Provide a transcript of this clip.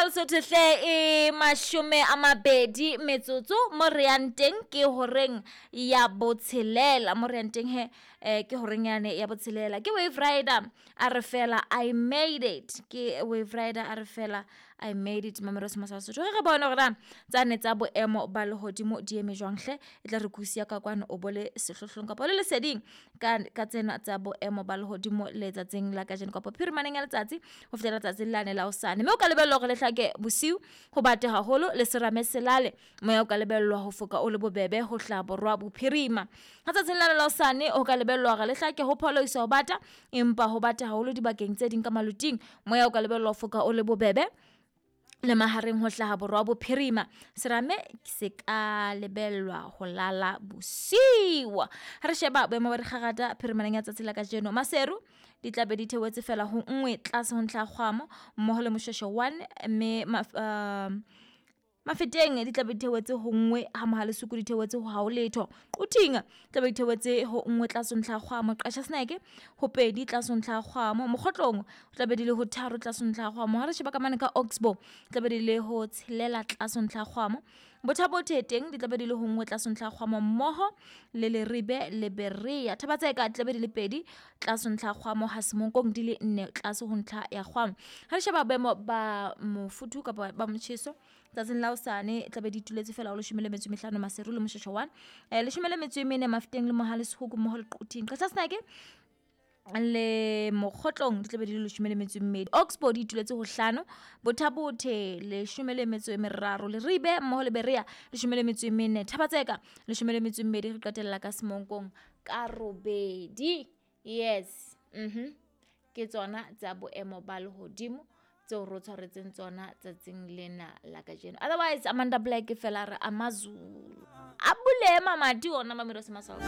Lesotho hle e 20 metsotso mo re yang teng ke horeng ya botshelela mo re yang teng he ke horeng yane ya botshelela ke Wave Rider a re fela I made it ke Wave Rider a re fela I made it mamelo se masa Sotho re bone hore na tsane tsa boemo ba lehodimo di eme jwang hle e tla re kusia ka kwano o bole sehlohlolong kapa le leseding ka tsena tsa boemo ba lehodimo letsatsing la kajeno kapa phirimaneng ya letsatsi ho fihlela letsatsing lane la hosane mme o ka lebellwa hore le hlake bosiu ho bate haholo le serame selale moya o ka lebellwa ho foka o le bobebe ho hlaha borwa bophirima. Ha tsatsing lane la hosane o ka lebellwa hore le hlake ho pholoisa ho bata empa ho bata haholo dibakeng tse ding ka maloting moya o ka lebellwa ho foka o le bobebe le mahareng ho hlaha borwa bophirima serame se ka lebellwa ho lala bosiu. Ha re sheba boemo ba dikgangata phirimaneng ya tsatsi la kajeno Maseru di tla be di theohetse fela ho 1 tlase ho ntlha ya kgwamo mmoho le Moshweshwe 1 mme Mafeteng di tla be di theohetse ho 1 ha Mohale's Hoek di theohetse ho ha ho letho. Quthing tla be di theohetse ho 1 tlase ho ntlha ya kgwamo. Qacha's Nek ho 2 tlase ho ntlha ya kgwamo. Mokgotlong tla be di le ho 3 tlase ho ntlha ya kgwamo. Ha re sheba ka mane ka Oxbow tla be di le ho 6 tlase ho ntlha ya kgwamo. Botha-Bothe teng di tla be di le ho 1 tlase ho ntlha ya kgwamo mmoho le Leribe le Berea. Thaba-Tseka di tla be di le 2 tlase ho ntlha ya kgwamo ha Semonkong di le 4 tlase ho ntlha ya kgwamo. Ha re sheba boemo ba mofuthu kapa ba motjheso tsatsing la hosane tla be di ituletse fela ho 15 Maseru le Moshweshwe 1 14 Mafeteng le Mohale's Hoek mmoho le Quthing. Qacha's Nek le Mokgotlong di tla be di le 12. Oxbow di ituletse ho 5, Botha-Bothe 13, Leribe mmoho le Berea 14, Thaba-Tseka 12 re qetella ka Semonkong ka 8. Yes. Ke tsona tsa boemo ba lehodimo tseo re tshwaretseng tsona tsatsing lena la kajeno. Otherwise Amanda Black fela re amaZulu. A bule mamati ona mamelo se maswao.